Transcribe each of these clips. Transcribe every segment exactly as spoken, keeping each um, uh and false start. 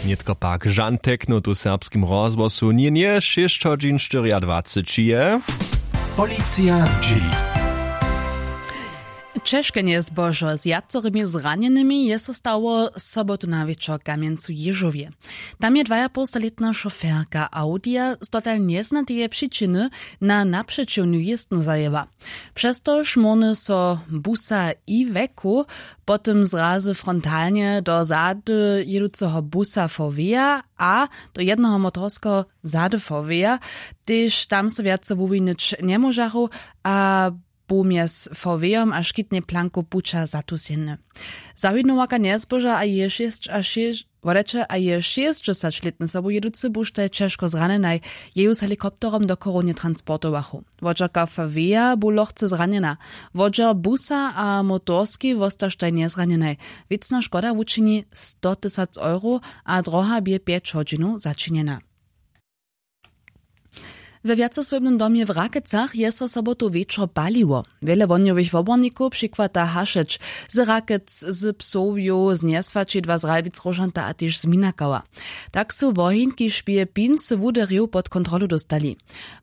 Nětko pak žan tekno tu w serbskim rozhłosu njenje šěsć hodźin štyriadwaceći je. Policija zdźěli. Ćežke njezbožo z wjacorymi zranjenymi je so stało sobotu na wječor w kamjencu ježowje. Tam je dwajapołstalětna šoferka audija z dotal njeznateje přičiny na napřećiwnu jěztnu zajěła. Přez to šmórny so busa i weku, potom zrazy frontalnje do zady jěduceho busa foweja a do jednoho motorskeho zady foweja. Tež tam so wjace wuwinyć njemóžachu a bu mjez fowejom a škitnej planku puća zatusjeny. Zawinowarka njezboža a je šěsć a šěsć wodajće a je šěsćdźesaćlětny sobujěducy buštaj ćežko zranjenaj. Je ju z helikopterom do chorownje transportowachu. Wodźerka faweja bu lochce zranjena. Wodźer busa a motorski wostaštaj njezranjenaj. Wěcna škoda wučini sto tysac euro a droha bě pjeć hodźinow začinjena. We wjacesłownym domje w Rakecach je so sobotu wječor paliło. Wjele wohnjowych wobornikow přichwata hašeć z Rakec, z Psowjow, z Njeswaćidła, z Ralwic, Róžanta a tež z Minakała. Tak su woheń, kiž bě pincy wuderju, pod kontrolu dóstali.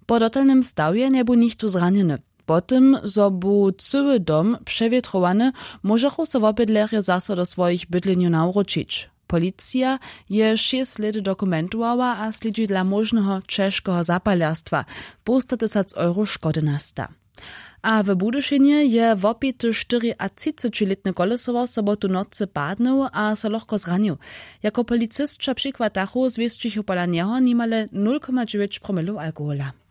Po dotalnym stawje njebu nichtó zranjeny. Po tym zo bu cyły dom přewětrowany, móžechu so wobydlerjo zaso do swojich bydlenjow nawróćić. Policija je šěsć lět dokumentowała a slědźi dla móžneho ćežkeho zapalerstwa. Połsta tysac euro škody nasta. A w budyšinje je wopity štyriatřicećilětny kolesowar sobotu w nocy padnył a so lochko zranił. Jako policisća přichwatachu zwěsćichu pola njeho nimale nul koma dźewjeć promilow alkohola.